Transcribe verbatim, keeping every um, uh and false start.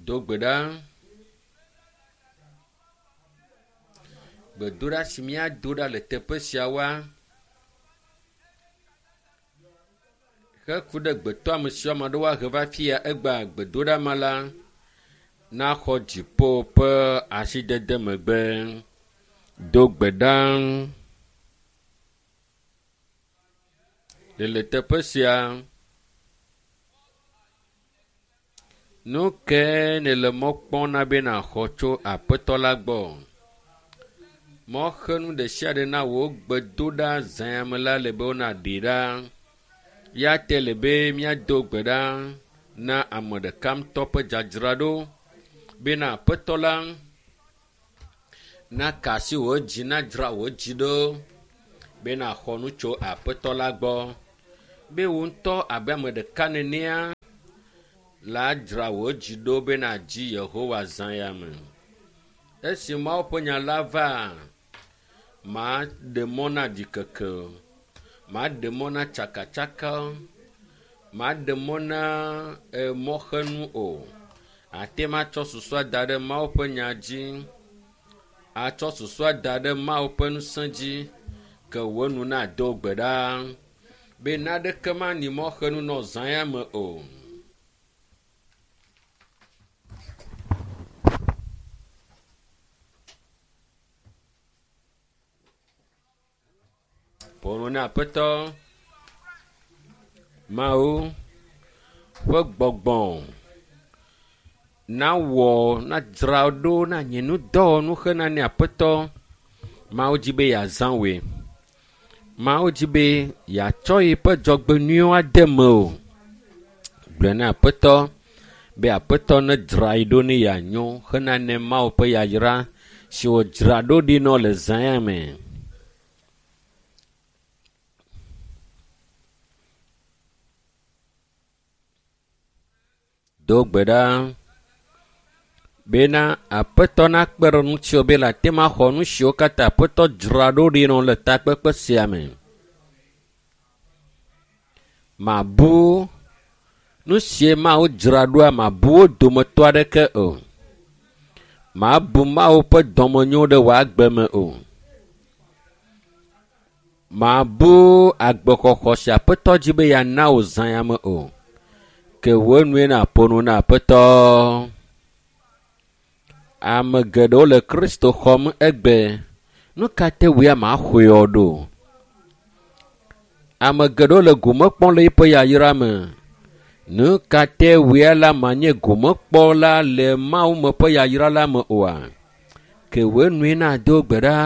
Do gbe ɖa. Gbedoɖa si míado ɖa le teƒe siawoa, heku ɖe gbetɔame siwo ame aɖewo ahe va fi ya egbea gbedoɖa ma la, naxɔ dziƒo ƒe asidede megbe. Do gbe ɖa. Le le teƒe sia, nu ke nèle mɔ kpɔm na be nàxɔ tso aƒetɔ la gbɔ? Mɔxenu ɖe sia ɖe na wò gbedoɖa zã ya me la le be wonaɖee ɖa. Ya te le be míado gbe ɖa na ame ɖeka ŋutɔ ƒe dzadzraɖo bena aƒetɔ la naka asi wò dzi nadzra wò dzi ɖo be nàxɔ nu tso aƒetɔ la gbɔ. Be wò ŋutɔ abe ame ɖeka nenea la dzra wò dzi ɖo be nàdzi Yehowa zã ya me. Esi Mawu ƒe nya la va, maɖe mɔ na ɖikeke o, maɖe mɔ na tsakatsaka o, maɖe mɔ na emɔxenu o. Ate ŋu atsɔ susua da ɖe Mawu ƒe nya dzi, atsɔ susua da ɖe Mawu ƒe ŋusẽ dzi ke wò nu nado gbe ɖa be naneke mani mɔxenu nɔ zã ya me o. Ƒo nu na Aƒetɔ Mawu ƒe gbɔgbɔ nawɔ nadzra ɖo na nye nudɔwɔnu hena ne Aƒetɔ Mawu dzi be yeazã wòe. Mawu dzi be yeatsɔ yeƒe dzɔgbenyuiwo ade mewò. Gblɔe na Aƒetɔ be Aƒetɔ nedzra ye ɖo ne yeanyo hena ne Mawu ƒe yayra si wòdzra ɖo ɖi nɔ le zã ya me. Do gbe ɖa bena Aƒetɔ nakpe ɖe ŋutiwò be nàte ŋu axɔ nu siwo katã Aƒetɔ dzra ɖo ɖi nɔ le takpekpe sia me. Mabu nu sie Mawu dzra ɖoa mabu wo dometɔ aɖeke o. Mabu Mawu ƒe dɔmenyo ɖe wò agbe me o. Mabu agbexɔxɔ si Aƒetɔ dzi be yeana wò zã ya me o. Ke wò nue nàƒo nu na Aƒetɔ. Ame geɖewo le Kristo xɔm egbe. Nu ka te wò ya màxɔe o ɖo? Ame geɖewo le gome kpɔm le eƒe yayra me. Nu ka te wò ya la manye gomekpɔla le Mawu me ƒe yayra la me oa? Ke wò nue nàdo gbe ɖa.